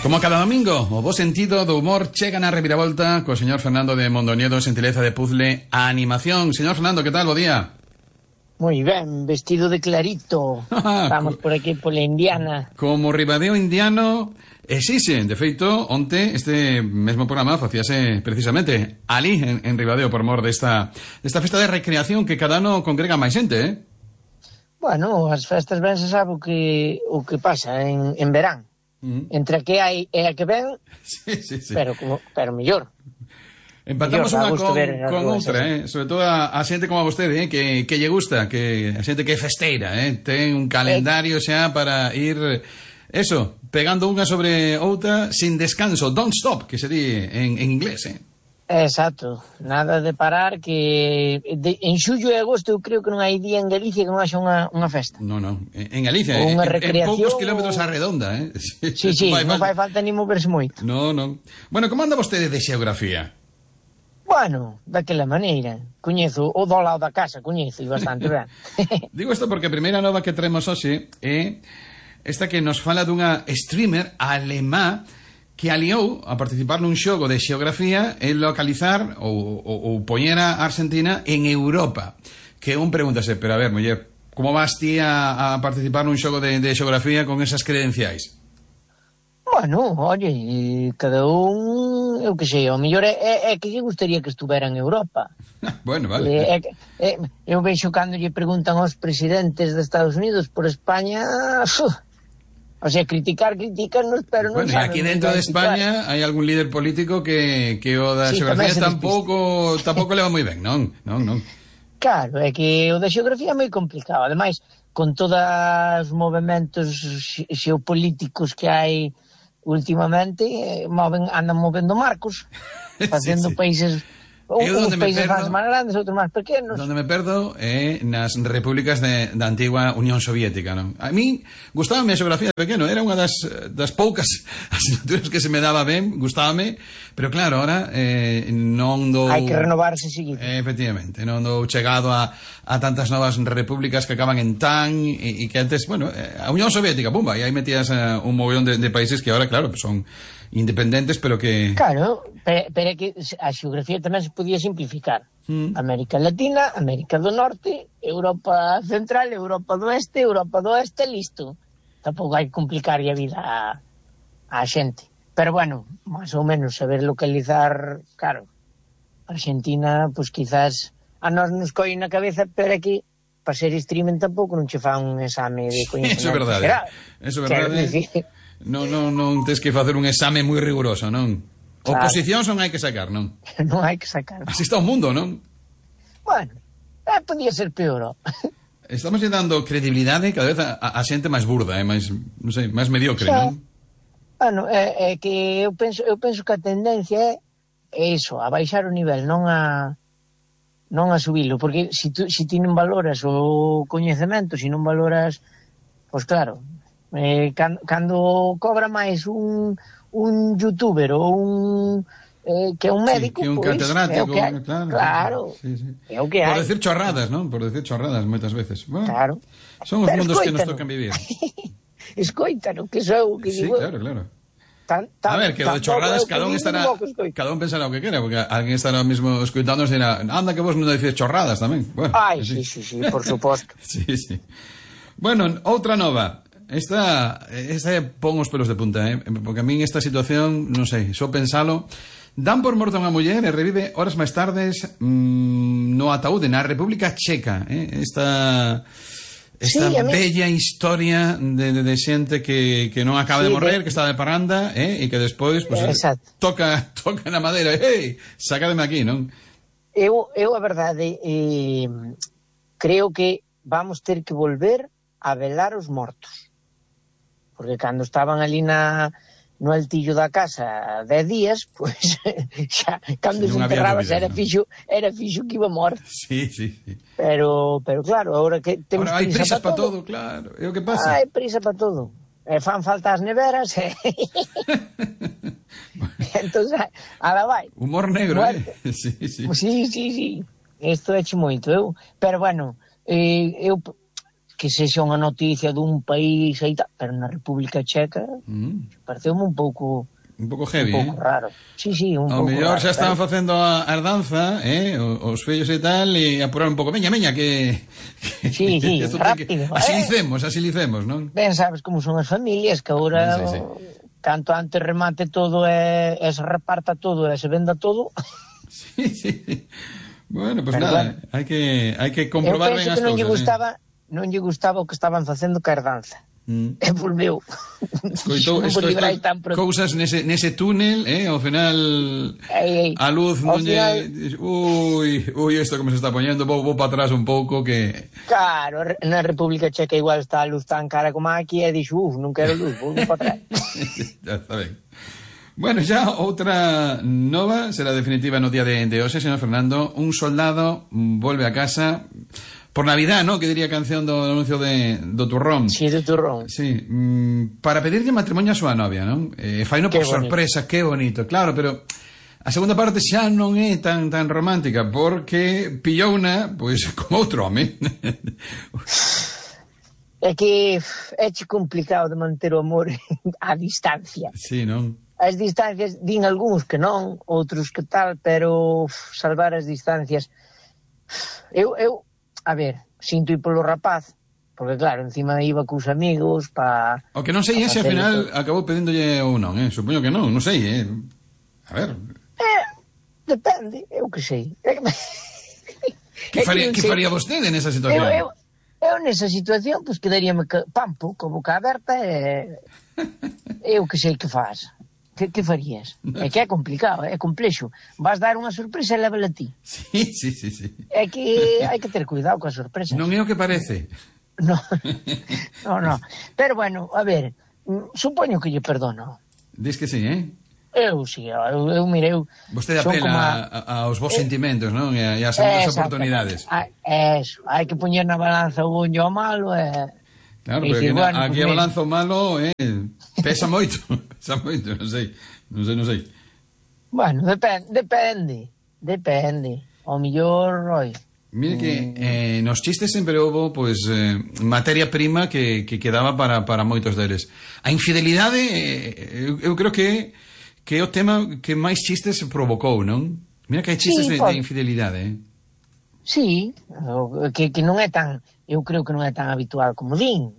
Como cada domingo, o bo sentido do humor chega na reviravolta co señor Fernando de Mondoñedo, xentileza de puzzle a animación. Señor Fernando, que tal? Bo día. Moi ben, vestido de clarito. Estamos por aquí pola Indiana. Como Ribadeo indiano, exixen. De feito, onte este mesmo programa facíase precisamente ali, en Ribadeo, por mor desta festa de recreación que cada ano congrega máis xente, eh? Bueno, as festas ben se sabe o que pasa en verán. Entre a que hai e a que ven, sí. pero mellor. Empatamos unha con outra, sobre todo a xente como a vostede, que lle gusta, que a xente que é festeira, ten un calendario xa para ir, eso, pegando unha sobre outra sin descanso, don't stop, que se di en inglés, Exacto, nada de parar, que en xullo e agosto eu creo que non hai día en Galicia que non haxa unha festa. No, en Galicia, en poucos kilómetros a redonda, Sí, non fai falta ni moverse moito. No. Bueno, como anda vostede de xeografía? Bueno, daquela maneira. Coñezo o do lado da casa, coñezo bastante ben. Digo isto porque a primeira nova que traemos hoxe é esta que nos fala dunha streamer alemá que aliou a participar nun xogo de xeografía e localizar ou poñer a Argentina en Europa. Que un pregúntase, pero a ver, muller, como vas ti a participar nun xogo de xeografía con esas credenciais? Bueno, oye, cada un, eu que sei, o mellor é que lle gustaría que estuvera en Europa. Bueno, vale. Eu vexo cando lle preguntan aos presidentes de Estados Unidos por España... O sea, criticarnos, pero non saben. Bueno, aquí dentro de España hai algún líder político que o da xeografía tampouco leva moi ben, non? Claro, é que o da xeografía é moi complicado. Ademais, con todos os movimentos xeopolíticos que hai últimamente, andan movendo marcos, facendo países... Uns países máis grandes, outros máis pequenos. Donde me perdo é nas repúblicas da antigua Unión Soviética, non? A mí gustábame a xeografía de pequeno, era unha das poucas asignaturas que se me daba ben, gustábame, pero claro, ahora non dou... Hai que renovarse seguido. Efectivamente, non dou chegado a tantas novas repúblicas que acaban en tan e que antes, bueno, a Unión Soviética, pumba, e aí metías un mogollón de países que ahora, claro, son independentes, pero que... Claro, pero é que a xeografía tamén se podía simplificar. América Latina, América do Norte, Europa Central, Europa do Oeste, listo. Tampouco hai que complicar a vida a xente. Pero bueno, máis ou menos saber localizar, claro, Argentina, pois quizás a nós nos coi na cabeza, pero aquí para ser streaming tampouco non che fa un exame de coñecemento. Eso é verdade. Eso é verdade. Non tens que facer un exame moi riguroso, non? Claro. Oposicións non hai que sacar, non? Non hai que sacar. Así está o mundo, non? Bueno, podía ser peor. Estamos dando credibilidade cada vez a xente máis burda, máis, non sei, máis mediocre, non? Bueno, é que eu penso que a tendencia é iso, a baixar o nivel, non a subilo, porque se ti non valoras o coñecemento, se non valoras, pois claro, cando cobra máis un youtuber ou un que é un médico, que un pues, catedrático, claro, sí. É o que hai. Por decir chorradas, non? Por decir chorradas moitas veces. Bueno, claro. Son os mundos que nos tocan vivir. Escoítano, que sou que sí, digo. Claro. A ver, que lo de chorradas cada un pensará o que quera, porque alguén estará mesmo escoitando e dirá, anda que vos non dices chorradas tamén. Bueno, ai, sí, por suposto. Sí. Bueno, outra nova. Esta pon os pelos de punta, porque a min esta situación, non sei, só pensalo, dan por morta unha muller e revive horas máis tardes no ataúde na República Checa, esta bella historia de xente que non acaba de morrer, que está de parranda, e que despois pues, toca na madeira, sacademe aquí, non? Eu a verdade, creo que vamos ter que volver a velar os mortos. Porque cando estaban ali no altillo da casa 10 días, pois xa cando se enterraba era fixo que iba morto. Sí. Pero claro, agora que temos hai prisa para todo, claro. É o que pasa. Hai prisa para todo. Fan falta as neveras. Entonces, ala vai. Humor negro, Sí. Isto é moito, Pero bueno, eu que sexa unha noticia dun país e tal, pero na República Checa pareceume un pouco heavy, un pouco raro. Sí, un pouco raro. Ao mellor xa estaban facendo a herdanza, os fillos e tal, e apurar un pouco, veña, que sí, rápido. Asilicemos, non? Ben, sabes como son as familias, que agora canto antes remate todo e se reparta todo e se venda todo. Sí. Bueno, pues nada, hai que comprobar ben as cousas. Eu penso que non lle gustaba o que estaban facendo ca herdanza. E volveu. Escoitou cousas nese túnel, ao final a luz non lle... Ui, isto como se está poñendo, vou para atrás un pouco que... Claro, na República Checa igual está a luz tan cara como aquí e dixo, non quero luz, vou para atrás. Ya está ben. Bueno, xa outra nova será definitiva no día de hoxe, señor Fernando. Un soldado volve a casa por Navidad, ¿no? Que diría a canción do anuncio do turrón. Sí, do turrón. Sí, para pedirlle matrimonio a súa novia, non? Faino por sorpresa, que bonito, claro, pero a segunda parte xa non é tan romántica, porque pillouna, pois, con outro home. É que é complicado de manter o amor a distancia. Sí, non? As distancias, din algúns que non, outros que tal, pero salvar as distancias... Eu a ver, sinto ir polo rapaz, porque claro, encima iba cos amigos pa... O que non sei é se ao final acabou pedíndolle ou non, supoño que non sei, a ver... Depende, eu que sei. Que faría vostede nesa situación? Eu nesa situación, pois quedaríame pampo, con boca aberta e... eu que sei que faz. Que farías? É que é complicado, é complexo. Vas dar unha sorpresa e lévala a ti. Sí. É que hai que ter cuidado coas sorpresas. Non é o que parece. No. Pero bueno, a ver, supoño que lle perdono. Dis que sí, Eu sí, eu mirei... Vostede apela aos vos sentimentos, non? E ás segundas oportunidades. Eso, hai que poñer na balanza o bon e o malo e... Claro, porque aquí a balanza o malo pesa moito, non sei. Bueno, depende. O mellor, mire que nos chistes sempre houve pois materia prima que quedaba para moitos deles. A infidelidade eu creo que é o tema que máis chistes provocou, non? Mira que hai chistes de infidelidade, Sí, que non é tan... Eu creo que non é tan habitual como din.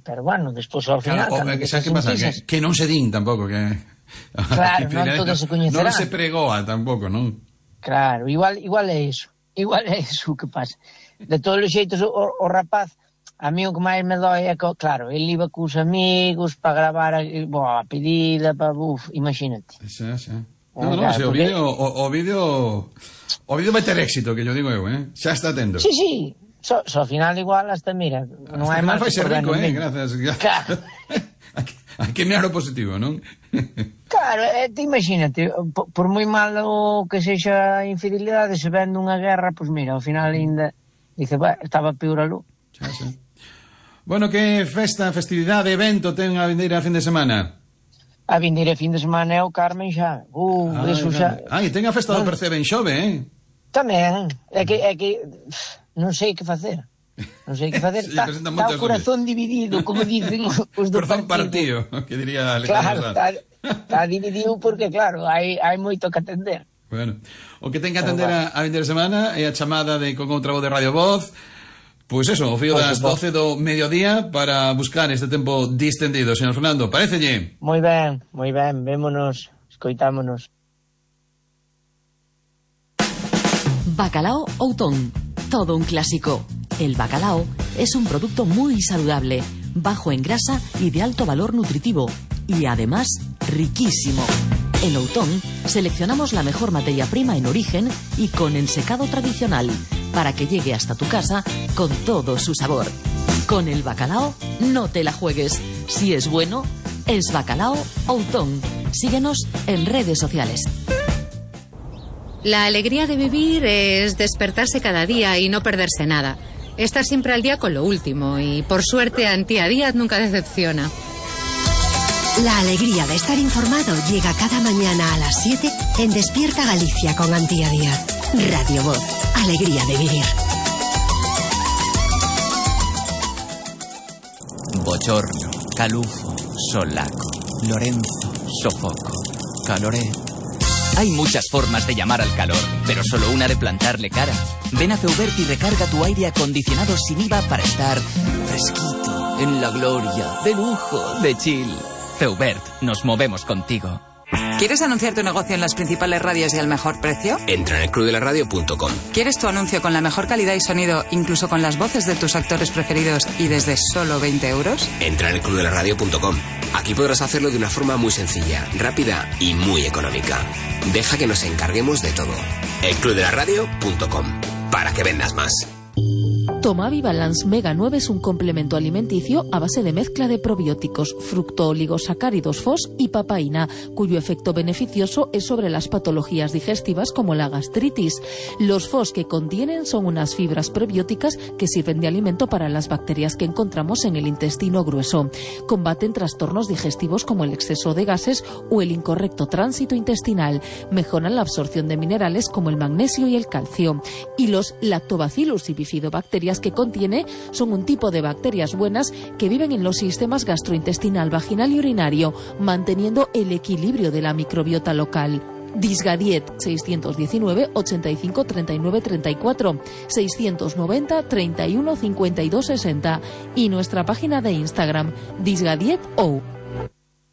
Pero bueno, despois ao final... Claro, xa que pasa? Que non se din tampouco, que... Claro, non todo se coñecerá. Non se pregoa tampouco, non? Claro, igual é iso. Igual é iso que pasa. De todos os xeitos, o rapaz, a mí o que máis me dói é que, claro, ele iba cos amigos para gravar a pedida, imagínate. Xa. No, se o vídeo vai ter éxito, que yo digo eu, xa está tendo. Sí. Só ao final igual hasta, mira, non hai máis... Vai ser rico, gracias. Claro. Hai que mirar o positivo, non? Claro, te imagínate, por moi malo que sexa a infidelidade, se vende unha guerra, pois mira, ao final ainda dice, estaba peor aló. Xa. Bueno, que festividade, evento ten a vindeira fin de semana? A vindeira fin de semana é o Carmen xa. Eso xa... E ten a festa do Percebe en Xove, Tamén, é que non sei que facer. Está o corazón dividido, como dicen os do partido. Que diría Claro, está dividido porque, claro, hai moito que atender. Bueno, o que ten que atender a vindeira semana é a chamada con outra voz de Radio Voz. Pois eso, o fío das 12 do mediodía para buscar este tempo distendido, señor Fernando, parecelle? Moi ben, vémonos, escoitámonos. Bacalao Outón, todo un clásico. El bacalao es un producto muy saludable, bajo en grasa y de alto valor nutritivo, y además riquísimo. En Outón seleccionamos la mejor materia prima en origen y con ensecado tradicional, para que llegue hasta tu casa con todo su sabor. Con el bacalao no te la juegues. Si es bueno, es Bacalao Outón. Síguenos en redes sociales. La alegría de vivir es despertarse cada día y no perderse nada. Estar siempre al día con lo último y, por suerte, Antía Díaz nunca decepciona. La alegría de estar informado llega cada mañana a las 7 en Despierta Galicia con Antía Díaz. Radio Voz, alegría de vivir. Bochorno, calufo, solaco, Lorenzo, sofoco, caloré. Hay muchas formas de llamar al calor, pero solo una de plantarle cara. Ven a Feubert y recarga tu aire acondicionado sin IVA para estar fresquito, en la gloria, de lujo, de chill. Feubert, nos movemos contigo. ¿Quieres anunciar tu negocio en las principales radios y al mejor precio? Entra en elclubdelaradio.com. ¿Quieres tu anuncio con la mejor calidad y sonido, incluso con las voces de tus actores preferidos y desde solo 20 euros? Entra en elclubdelaradio.com. Aquí podrás hacerlo de una forma muy sencilla, rápida y muy económica. Deja que nos encarguemos de todo. elclubdelaradio.com. Para que vendas más. Tomavi Balance Mega 9 es un complemento alimenticio a base de mezcla de probióticos, fructooligosacáridos FOS y papaína, cuyo efecto beneficioso es sobre las patologías digestivas como la gastritis. Los FOS que contienen son unas fibras prebióticas que sirven de alimento para las bacterias que encontramos en el intestino grueso. Combaten trastornos digestivos como el exceso de gases o el incorrecto tránsito intestinal. Mejoran la absorción de minerales como el magnesio y el calcio. Y los Lactobacillus y bifidobacterias que contiene son un tipo de bacterias buenas que viven en los sistemas gastrointestinal, vaginal y urinario, manteniendo el equilibrio de la microbiota local. Disgadiet 619 85 39 34 690 31 52 60 y nuestra página de Instagram Disgadiet O.